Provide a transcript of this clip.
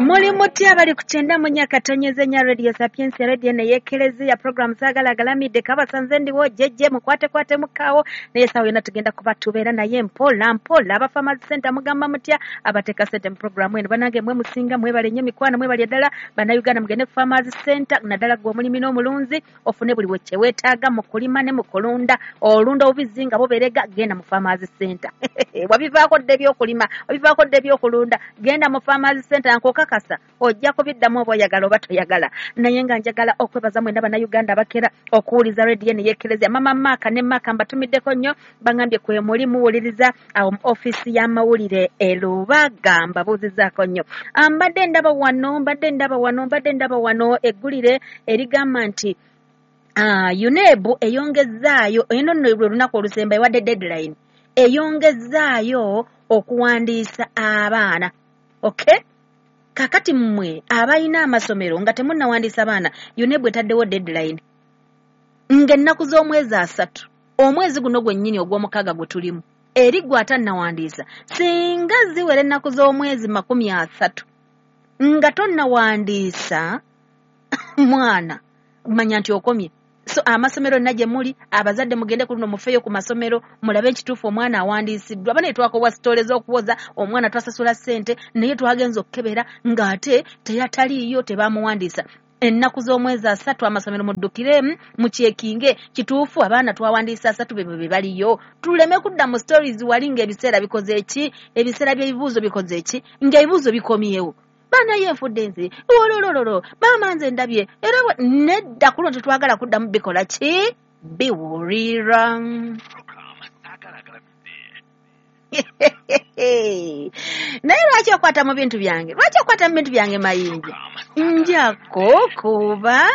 Muli mutya abali ku 94.4 Radio Sapientia, radio neyekelezia program Zaagala Agalamidde. Kabasanze ndiwo jejje mukwatekwate mukaawo, naye essaawa yonna tugenda kuba tubeera naye mpola mpola. Aba Farmers Center mugamba mutya abateeka sente mu programu eno? Banange mwe musinga, mwebale nnyo mikwano, mwebale ddala. Bannayuganda mugende ku Farmers Center, naddala gwe omulimi n'omulunzi, ofune buli kye weetaaga mu kulima ne mu kulunda. Olunda obubizzi nga buberega, genda mu Farmers Center. Wabivaako dda ebyokulima, wabivaako dda ebyokulunda, genda mu Farmers Center, nkokakasa ojja kubiddamu oba oyagala oba toyagala. Naye nga njagala okwebaza mwenna Bannayuganda abakera okuwuliza rediyo neyeekerezia. Mama Maaka ne Maaka mbatumiddeko nnyo, bangambye kwe muli muwuliriza awo mu ofiisi y'amawulire e Lubaga, mbabuuzizaako nnyo. Mbadde ndaba wano, mbadde ndaba wano, mbadde ndaba wano eggulire erigamba nti UNEB eyongezzaayo, eno nno lwe lunaku olusemba ewadde deadline, eyongezzaayo okuwandiisa abaana. Okay? Kakati mmwe abalina amasomero nga temunnawandiisa baana, UNEB etaddewo deadline ng'ennaku z'omwezi 3, omwezi guno gwennyini ogw'omukaaga gwe tulimu, eri gwe atannawandiisa, singa ziwera ennaku z'omwezi 30 nga tonnawandiisa mwana, manya nti okomye. So amasomero yonna gye muli, abazadde mugende ku luno mufeeyo ku masomero mulabe ekituufu omwana awandiisiddwa. Bane twakobwa sitole z'okuwoza omwana, twasasula ssente naye twagenza okukebera ng'ate teyataliiyo, tebamuwandiisa. Ennaku z'omwezi 3 amasomero muddukiremu mukyekinge kituufu abaana twawandiisa 3 be be baliyo, tuleme kudda mu stories wali ng'ebiseera bikoze eki, ebiseera by'ebibuuzo bikoze eki, ng'ebibuuzo bikomyewo. Baana ye nfudde nze ololololo, maama nze ndabye era nedda, ku luno tetwagala kuddamu bikola ki, biwulira. Naye lwaki okwata mu bintu byange? Lwaki okwata mu bintu byange Mayinja? Njako kuba